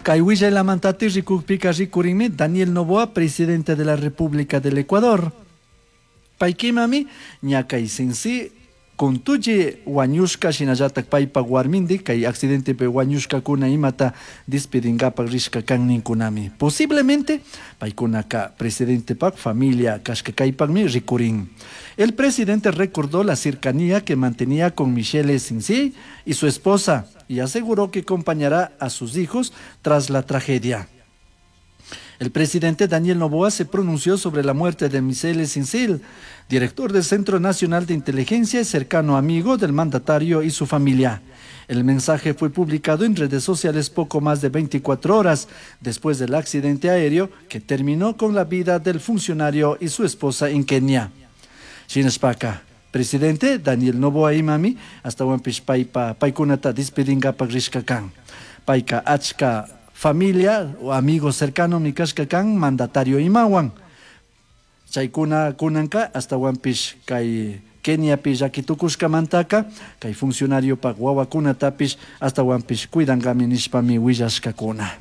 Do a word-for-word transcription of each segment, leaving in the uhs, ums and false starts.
Kay willaylamantati rikukpika rikurinmi Daniel Noboa, presidente de la República del Ecuador. Paykimami ña kay Censi Contucci wañushka shinallatak paypak warmindik kay accidentepi wañushkakuna imata despedingapak rishka kan ninkunami. Posiblemente paykunaka presidentepak familia kashka kaypakmi rikurin. El presidente recordó la cercanía que mantenía con Michele Sinsi y su esposa y aseguró que acompañará a sus hijos tras la tragedia. El presidente Daniel Noboa se pronunció sobre la muerte de Michele Sinsil, director del Centro Nacional de Inteligencia y cercano amigo del mandatario y su familia. El mensaje fue publicado en redes sociales poco más de veinticuatro horas después del accidente aéreo que terminó con la vida del funcionario y su esposa en Kenia. Shinashpaka, presidente Daniel Noboa imami ashtahuanpish paypa paykunata despedingapak rishka kan. Payka achka familia o amigo cercano mi kashka kan mandatario imawan. Chaykuna kunanka ashtahuanpish kay Keniapi llakitukushkamantaka kay funcionariopak wawakunatapish ashtahuanpish cuidankami nishpami willashkakuna.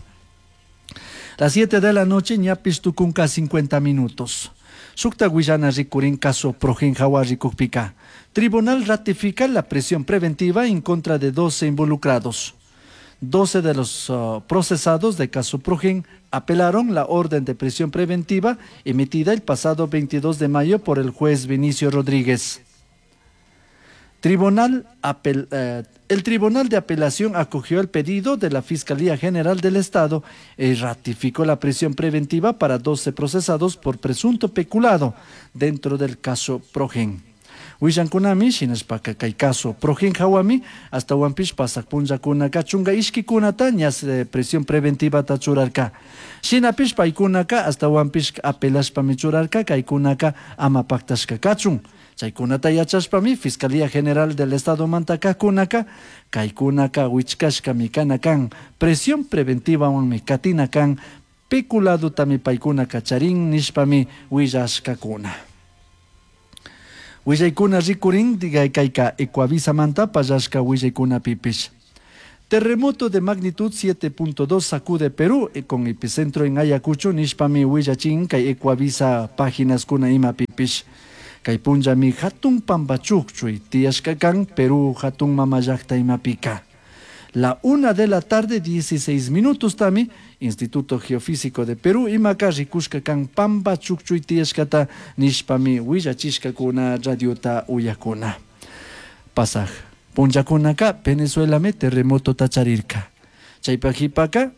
Las siete de la noche ñapish tukunka cincuenta minutos. Shukta willana rikurin caso Progen hawa rikukpika. Tribunal ratifica la prisión preventiva en contra de doce involucrados. doce de los, uh, procesados de caso Progen apelaron la orden de prisión preventiva emitida el pasado veintidós de mayo por el juez Vinicio Rodríguez. Tribunal apel, eh, el Tribunal de Apelación acogió el pedido de la Fiscalía General del Estado y ratificó la prisión preventiva para doce procesados por presunto peculado dentro del caso Progen. Willankunami shinashpaka kay caso Progen hawami ashtahuanpish pasak punllakunaka chunka ishkikunata ñas, eh, prisión preventivata churarka. Shinapish paykunaka ashtahuanpish apelashpami churarka kaykunaka ama paktashka kachun. Chaykunata yachashpami Fiscalía General del Estado mantakakunaka kaykunaka wichkashkami kana kan presión preventivawanmi katina kan peculadotami paykunaka charin nishpami willashkakuna. Willaykuna rikurin diga kayka Ecuavisamanta pallashka willaykuna pipish. Terremoto de magnitud siete punto dos sacude Perú con epicentro en Ayacucho nishpami willachin kay Ecuavisa páginas kuna ima pipish. Kay punllami hatun pampachukchuy tiyashka kan Perú hatun mamallakta imapika. La una de la tarde, dieciséis minutos tami, Instituto Geofísico de Perú, imaka rikushka kan pampa chukchuy tiyashkata nishpami willachishkakuna radiota uyakuna. Pasaj, punllakunaka Venezuelame terremoto tacharirka. Chaypajipaka,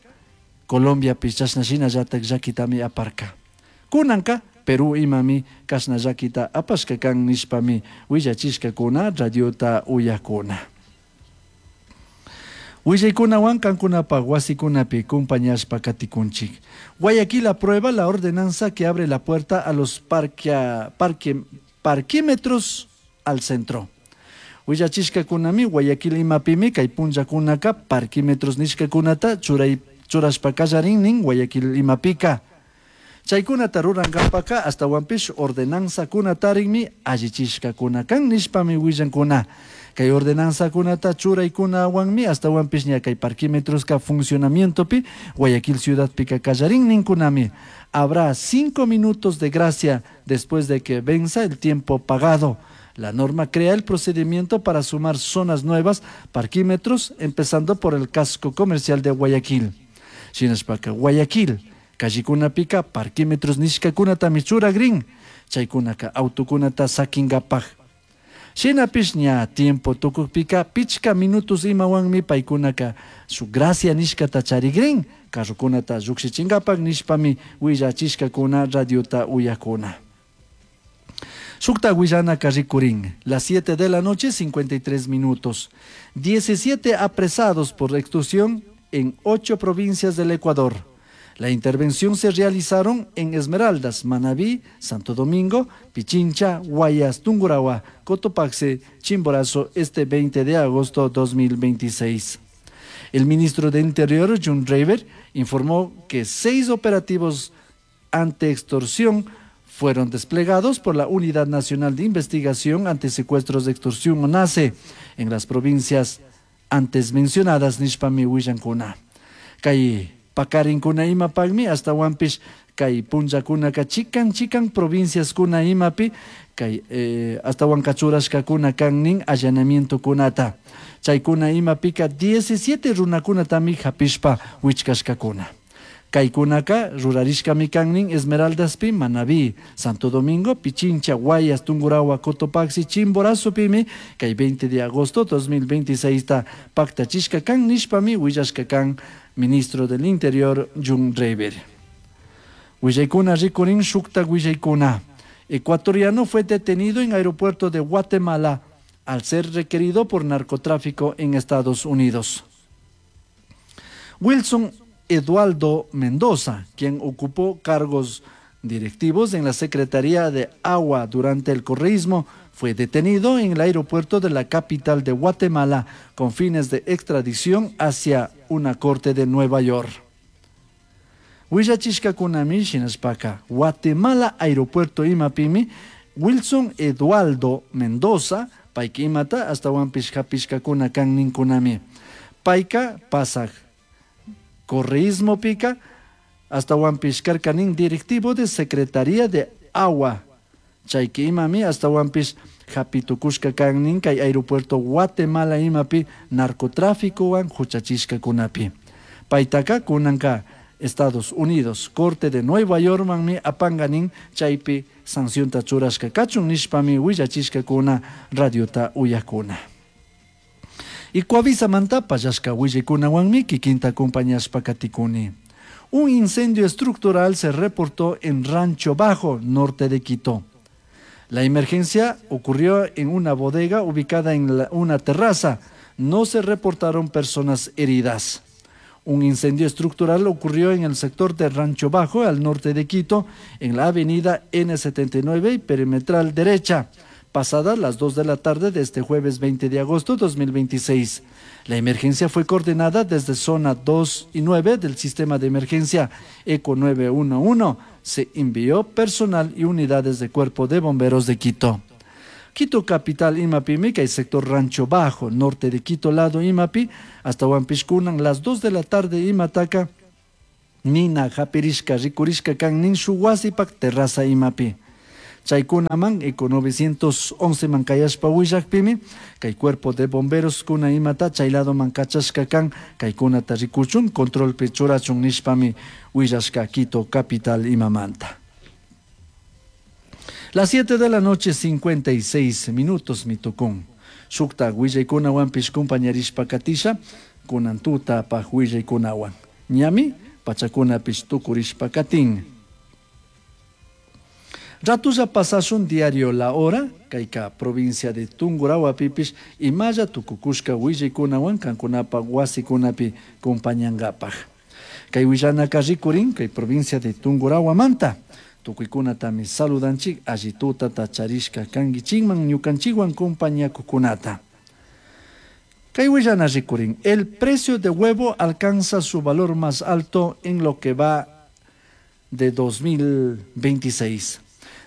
Colombia pichashna shinallatak llakitami aparka. Kunanka, Perú imami kashna llakita apashka kan nishpami willachishkakuna radiota uyakuna. Willaykunawan kankunapaq wasikunapi compañashpa katikunchik. Guayaquil aprueba la ordenanza que abre la puerta a los parquea, parque, parquímetros al centro. Willachishkakunami Guayaquil imapimi kay punllakunaka parquímetros nishkakunata churay, churashpa kallarin nin Guayaquil imapika. Chaykunata rurankampaka ashtawanpish ordenanzakunatarinmi allichishkakuna kan nishpami willankuna. Kay ordenanzakunata churaykunawanmi ashtawanpish ña kay parquímetroska funcionamientopi Guayaquil ciudadpika kallarin ninkunami. Habrá cinco minutos de gracia después de que venza el tiempo pagado. La norma crea el procedimiento para sumar zonas nuevas, parquímetros, empezando por el casco comercial de Guayaquil. Shinashpaka Guayaquil, kallikunapika parquímetros nishkakunatami churagrin, chaykunaka autokunata sakinkapaj. Shinapish ña tiempo tukukpika pichka minutos imawanmi paykunaka su gracia nishkata charigrin, carrokunata llukshichinkapaj nishpami willachishkakuna radiota uyakuna. Shukta willanaka rikurin, las siete de la noche, cincuenta y tres minutos. diecisiete apresados por extorsión en ocho provincias del Ecuador. La intervención se realizaron en Esmeraldas, Manabí, Santo Domingo, Pichincha, Guayas, Tungurahua, Cotopaxi, Chimborazo, este veinte de agosto dos mil veintiséis. El ministro de Interior, John Rayber, informó que seis operativos ante extorsión fueron desplegados por la Unidad Nacional de Investigación ante Secuestros de Extorsión, ONACE, en las provincias antes mencionadas, Nishpami, Huillancuna. Kay Pakarinkuna imapakmi ashtawanpish kay punllakunaka chikan chikan provinciaskuna imapi kay eh, ashtawanka churashkakuna kan nin allanamientokunata. Chaykuna imapika diecisiete runakunatami hapishpa wichkashkakuna. Kaykunaka rurarishkami kan nin Esmeraldaspi, Manabí, Santo Domingo, Pichincha, Guayas, Tungurahua, Cotopaxi, Chimborazopimi kay veinte de agosto dos mil veintiséis ta paktachishka kan nishpami willashka kan ministro del Interior Jhon Reyber. Willaykuna rikurin shukta willaykuna. Ecuatoriano fue detenido en aeropuerto de Guatemala al ser requerido por narcotráfico en Estados Unidos. Wilson Eduardo Mendoza, quien ocupó cargos directivos en la Secretaría de Agua durante el correísmo, fue detenido en el aeropuerto de la capital de Guatemala con fines de extradición hacia una corte de Nueva York. Willachishkakunami shinashpaka, Guatemala aeropuerto imapimi, Wilson Eduardo Mendoza, payka imata ashtawanpish hapishkakuna kan ninkunami. Payka pasaj correísmo pica, ashtawanpish karkanin directivo de Secretaría de Agua. Chayki imami ashtawanpish hapitukushka kan nin kay aeropuerto Guatemala imapi narcotráficowan huchachishkakunapi. Paytaka kunanka Estados Unidos, Corte de Nueva York manmi apanganin chaypi sancionta churashka kachun nishpami willachishkakuna radiota uyakuna. Ecuavisamanta pallashka willikunawanmi kikinta acompañashpa katikuni. Un incendio estructural se reportó en Rancho Bajo, norte de Quito. La emergencia ocurrió en una bodega ubicada en la, una terraza. No se reportaron personas heridas. Un incendio estructural ocurrió en el sector de Rancho Bajo, al norte de Quito, en la avenida N setenta y nueve y perimetral derecha, pasadas las dos de la tarde de este jueves veinte de agosto de dos mil veintiséis. La emergencia fue coordinada desde zona dos y nueve del sistema de emergencia Eco nueve uno uno. Se envió personal y unidades de cuerpo de bomberos de Quito. Quito capital Imapi, y sector Rancho Bajo, norte de Quito, lado Imapi, hasta Huampishkunan, las dos de la tarde Imataca, Nina, Japirishka, Rikurishka, Kan, Nin, Shuwasipak, terraza Imapi. Chaykunaman, Eco novecientos once mankayashpa willakpimi, kay cuerpo de bomberos kuna imata, chaylado mankachashka kan, kaykunata rikuchun, control pechurachun nishpami willashka Quito capital imamanta. Las siete de la noche, cincuenta y seis minutos, mitokun. Shukta willaykunawanpish compañerishpa katisha, kunantuta paj willaykunawan. Ñami, pachakunapish tukurishpa katin. Ratulla pasashun diario La Hora, kayka provincia de Tungurahua pipish, imalla tukukushka willaykunawan kankunapa wasikunapi compañangapaj. Kay willanaka rikurin, kay provincia de Tungurahua manta. Tukuykunatami saludanchik, allituta tacharishka kangichikman ñukanchikwan compañakukunata. Kay willana rikurin, el precio de huevo alcanza su valor más alto en lo que va de dos mil veintiséis.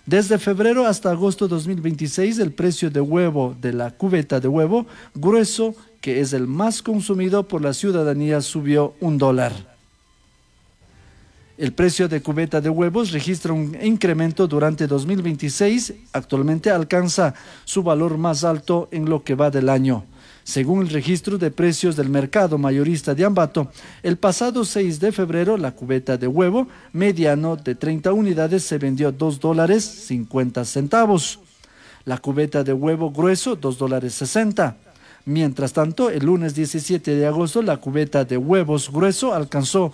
Desde febrero hasta agosto de dos mil veintiséis, el precio de huevo de la cubeta de huevo grueso, que es el más consumido por la ciudadanía, subió un dólar. El precio de cubeta de huevos registra un incremento durante dos mil veintiséis, actualmente alcanza su valor más alto en lo que va del año. Según el registro de precios del mercado mayorista de Ambato, el pasado seis de febrero la cubeta de huevo mediano de treinta unidades se vendió dos dólares cincuenta centavos. La cubeta de huevo grueso, dos dólares sesenta. Mientras tanto, el lunes diecisiete de agosto la cubeta de huevos grueso alcanzó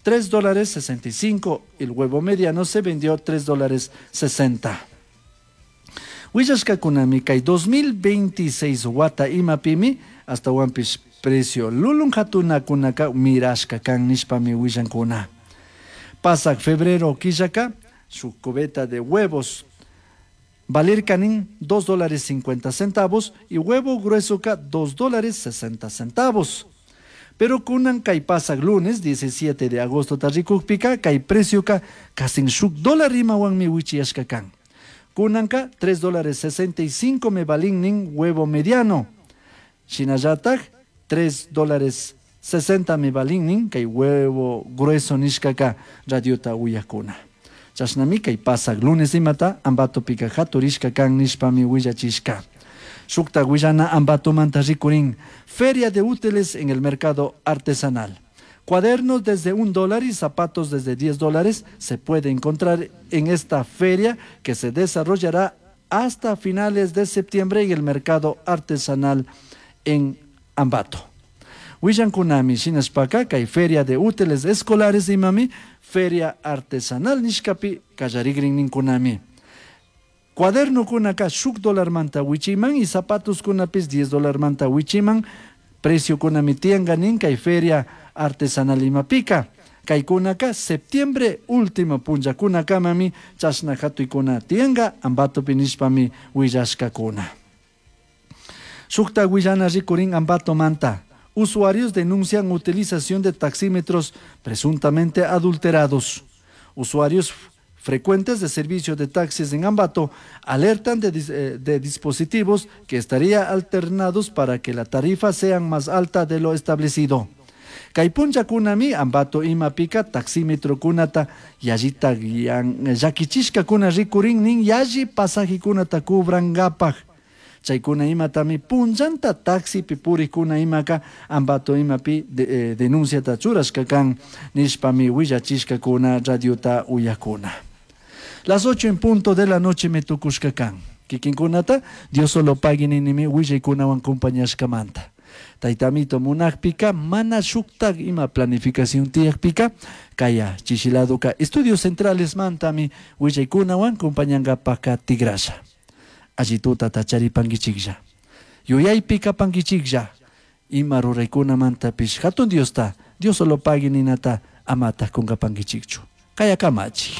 tres dólares sesenta y cinco. El huevo mediano se vendió tres dólares sesenta. Willashkakunami kay dos mil veintiséis wata imapimi hasta wampis precio lulun hatunakunaka mirashka kan nishpami willankuna. Pasak febrero killaka su cubeta de huevos valer canin dos dólares cincuenta centavos y huevo grueso ka dos dólares sesenta centavos. Pero kunan kay pasak lunes diecisiete de agosto tarrikukpika kay precio ka kasin shuk dólar imawanmi wichiyashka kan. Kunanka tres dólares sesenta y cinco me valin nin huevo mediano. Shinallatak tres dólares sesenta mi valin nin kay huevo grueso nishkaka radiota uyakuna. Chashnami kay pasak lunes imata Ambatopika haturishka kan nishpami willachishka. Shukta willana Ambatomanta rikurin feria de útiles en el mercado artesanal. Cuadernos desde un dólar y zapatos desde diez dólares se puede encontrar en esta feria que se desarrollará hasta finales de septiembre en el mercado artesanal en Ambato. Willankunami shinashpaka kay feria de útiles escolares imami feria artesanal nishkapi kallarigrin ninkunami. Cuaderno kunaka shuk dólar manta wichiman y zapatos kunapis diez dólar manta wichiman precio kunami tianga nin kay feria artesanal imapika. Kay kunaka septiembre último punlla kunakamami chashna hatuykuna tianga Ambatopi nishpami willashkakuna. Shukta willana rikurin Ambato manta. Usuarios denuncian utilización de taxímetros presuntamente adulterados. Usuarios frecuentes de servicio de taxis en Ambato alertan de, de dispositivos que estarían alternados para que la tarifa sea más alta de lo establecido. Kay punlla kunami Ambato imapika taxímetro kunata yallita llakichishkakuna rikurin nin yalli pasajikunata kubrankapaj. Chaykuna imatami punllanta taxipi purikuna imaka Ambato imapi de, eh, denunciata churashka kan nishpami willachishkakuna radiota uyakuna. Las ocho en punto de la noche me tukushka kan. Kikinkunata Dios solo pagui ninimi willaykunawan compañashkamanta. Taytamito munakpika mana shuktak ima planificación tiyakpika kaya chishiladuka estudios centrales mantami willaykunawan compañankapaka tigrasha. Allituta tacharipankichiklla. Yuyaypika pankichiklla. Ima ruraykunamantapish hatun Diosta, Dios solo pagui ninata amata kunkapankichikchu. Kaya kamachi.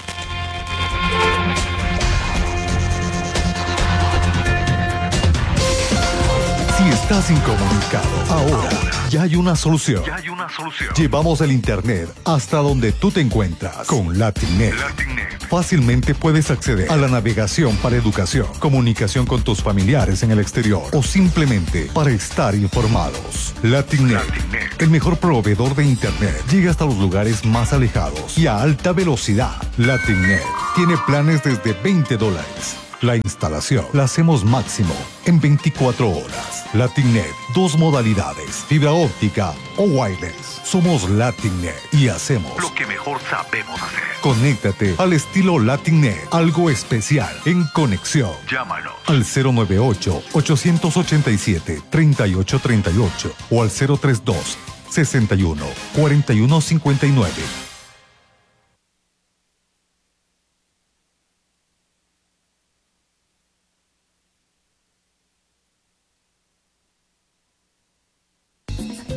Si estás incomunicado, ahora ya hay una solución. Ya hay una solución. Llevamos el internet hasta donde tú te encuentras con LatinNet. LatinNet. Fácilmente puedes acceder a la navegación para educación, comunicación con tus familiares en el exterior o simplemente para estar informados. LatinNet, LatinNet. el mejor proveedor de internet, llega hasta los lugares más alejados y a alta velocidad. LatinNet tiene planes desde veinte dólares. La instalación la hacemos máximo en veinticuatro horas. LatinNet, dos modalidades, fibra óptica o wireless. Somos LatinNet y hacemos lo que mejor sabemos hacer. Conéctate al estilo LatinNet, algo especial en conexión. Llámanos al cero nueve ocho, ochocientos ochenta y siete, treinta y ocho treinta y ocho o al cero tres dos, sesenta y uno, cuarenta y uno cincuenta y nueve.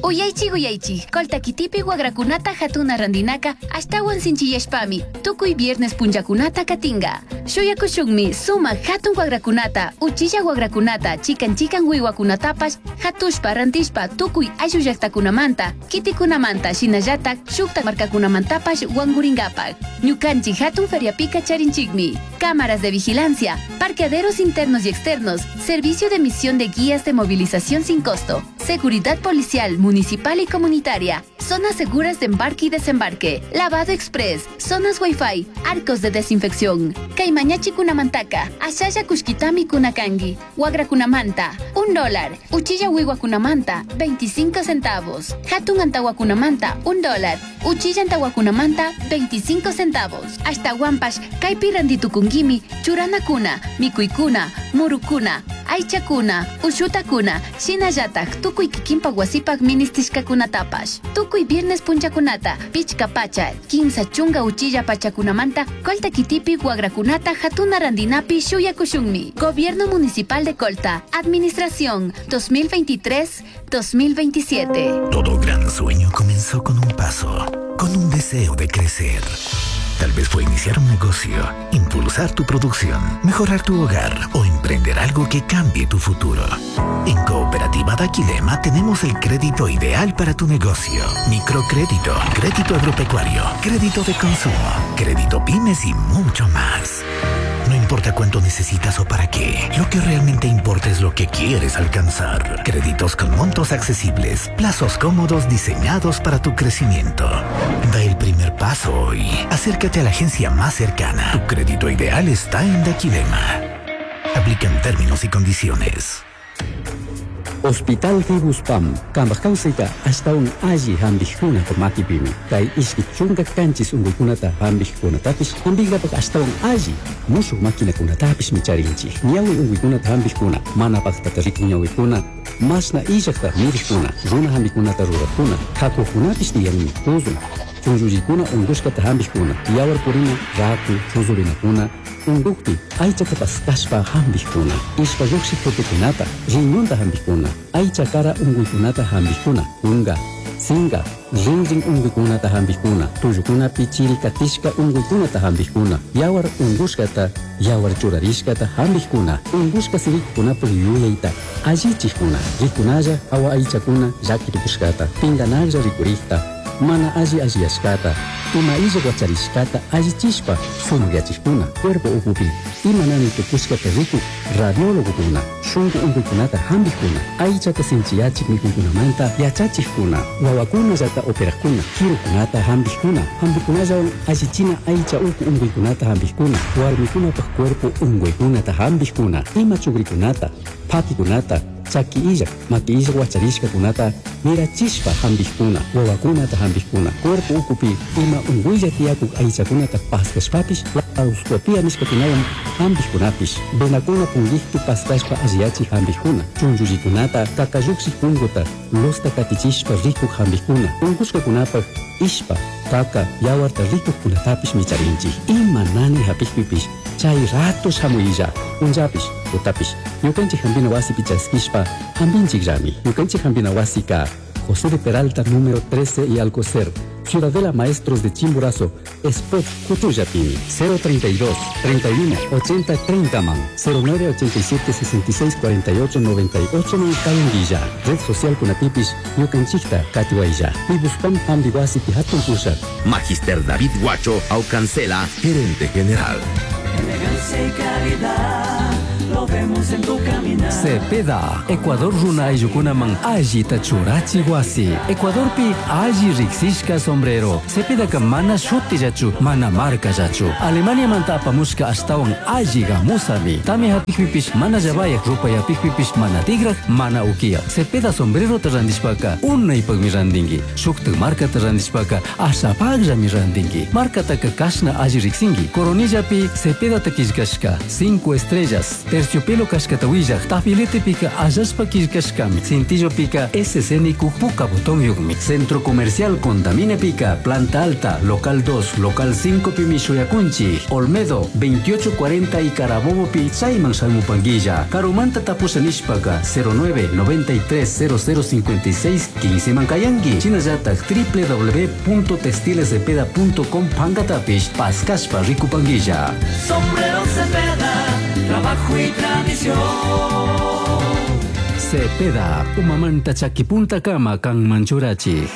Uyaychik uyaychik, Colta kitipi wagrakunata hatuna randinaka ashtawan sinchiyashpami, tukuy viernes punllakunata katinga. Shuyakushunmi sumak hatun wagrakunata, uchilla wagrakunata, chikan chikan wiwakunatapash, hatushpa rantishpa tukuy ayllu llaqtakunamanta, kitikunamanta, shinallatak shukta markakunamantapash wanguringapak. Ñukanchik hatun feriapika charinchikmi, cámaras de vigilancia, parqueaderos internos y externos, servicio de emisión de guías de movilización sin costo, seguridad policial, municipal y comunitaria, zonas seguras de embarque y desembarque, lavado express, zonas wifi, arcos de desinfección. Kaymañachi kunamantaka, ashaya kushkitami kunakangi, wagra kunamanta, un dólar, uchilla wiwa kunamanta, veinticinco centavos, hatun antawa kunamanta, un dólar, uchilla antawa kunamanta, veinticinco centavos. Hasta guampash, kaypi randitukunkimi, churana kuna, mikuykuna, murukuna, aychakuna, ushutakuna, shinallatak, tukuy kikinpak wasipak ministishkakunatapash. Tukuy viernes punchakunata, pichka pacha, kimsa chunga uchilla pachakunamanta, Colta kitipi wagrakunata hatuna randinapi shuyakushunmi. Gobierno Municipal de Colta, Administración dos mil veintitrés dos mil veintisiete. Todo gran sueño comenzó con un paso, con un deseo de crecer. Tal vez fue iniciar un negocio, impulsar tu producción, mejorar tu hogar o emprender algo que cambie tu futuro. En Cooperativa Daquilema tenemos el crédito ideal para tu negocio. Microcrédito, crédito agropecuario, crédito de consumo, crédito pymes y mucho más. No importa cuánto necesitas o para qué. Lo que realmente importa es lo que quieres alcanzar. Créditos con montos accesibles, plazos cómodos diseñados para tu crecimiento. Da el primer paso hoy. Acércate a la agencia más cercana. Tu crédito ideal está en Daquilema. Aplican términos y condiciones. Hospital Fibuspam, kambaj kawsayta ashtawan alli hampikkunata makipimi. Kay ishki chunka kanchis unkuykunata hampikkunatapish hampinkapak ashtawan alli mushuk maquinakunatapishmi charinchik. Ñawi unkuykunata hampikkuna, mana paktata rikun ñawikuna, mashna illakta mirikkuna, runa hampikunata rurakkuna, hakukunapish tiyanmi, tuzun, chunllullikuna unkushkata hampikkuna, yawar purina, raku, chuzurinakuna, unkukpi aychata paskashpa hampikkuna, ishpa lluqshik tutukunata, riñonta hampikkuna, aycha kara unkuykunata hampikkuna, kunka, sinka, rinrin unkuykunata hampikkuna, tullukunapi chiri katishka unkuykunata hampikkuna, yawar unkushkata, yawar churarishkata hampikkuna, unkushka sirikukunapuk yuyayta allichikkuna, rikunalla hawa aychakuna llakitukushkata, pinkanaklla rikurikta, mana alli alliyashkata, ima illak wacharishkata allichishpa sumakyachikuna, cuerpo ukupi ima nani tukushkata rikuk radiólogokuna, shunku unkuykunata hampikkuna, aychata sinchiyachik mikuykunamanta yachachikkuna, wawakunallata operakkuna, kirukunata hampikkuna, hampikunallawan allichina aycha uku unkuykunata hampikkuna, warmikunapak cuerpo unkuykunata hampikkuna, ima chukrikunata, pakikunata, chaki illak, maki illak wacharishkakunata mirachishpa hampikkuna, wawakunata hampikkuna, cuerpo ukupi ima unkuylla tiyakuk aychakunata paskashpapish laparoscopia nishkakunawan hampikkunapish, venakuna punkikpi paskashpa alliyachik hampikkuna, chunllullikunata kakallukshik punkuta lusta katichishpa rikuk hampikkuna, unkushkakunapak ishpa, kaka, yawarta rikukkunatapish micharinchik. Ima nani hapikpipish chay rato shamuylla, punllapish, tutapish, ñukanchik hampina wasipi chaskishpa hampinchikllami. Ñukanchik hampina wasika José de Peralta, número trece y Alcocer, Ciudadela Maestros de Chimborazo, Spot Cuchuyapimi, cero treinta y dos, treinta y uno, ochenta, treinta man, cero nueve ochenta y siete, sesenta y seis, cuarenta y ocho, noventa y ocho man Cayanguilla, Red Social Kunatipis, Ñukanchikta, Katiwaya, Pibuspam Hambiwasi Pihatun Pusha. Magister David Guacho Aucancela, gerente general. Elegancia y calidad, lo vemos en tu caminar. Cepeda, Ecuador runa ayllukunaman allita churachi wasi. Ecuadorpi alli riksishka sombrero. Cepedaka mana shutillachu, mana markallachu. Alemaniamanta apamushka ashtawan alli gamusami. Tami hapikpipish mana llavayak, rupayapikpipish mana tigrak, mana ukiyak. Cepeda sombrerota randishpaka unaypakmi randinki. Shuktak markata randishpaka ashapakllami randinki. Markataka kashna alli riksinki. Coronillapi Cepedata killkashka cinco estrellas. Terciopelo kashkata willak, tafiletepika allashpa killkashkami, cintillopika S C nikuk puka botón yukmi. Centro Comercial Condaminepika, Planta Alta, Local dos, Local cinco pimi shuyakunchi, Olmedo, veintiocho cuarenta y Carabobo pi chayman shalmupanguilla, Karumanta tapusha nishpaka, cero nueve noventa y tres cero cero cincuenta y seis quince mankayangi, chinallatak w w w punto textilescepeda punto com pankatapish, paskashpa rikupanguilla. Sombrero Cepeda, trabajo y tradición. Cepeda, umamanta chakipunta kama kan manchurachi.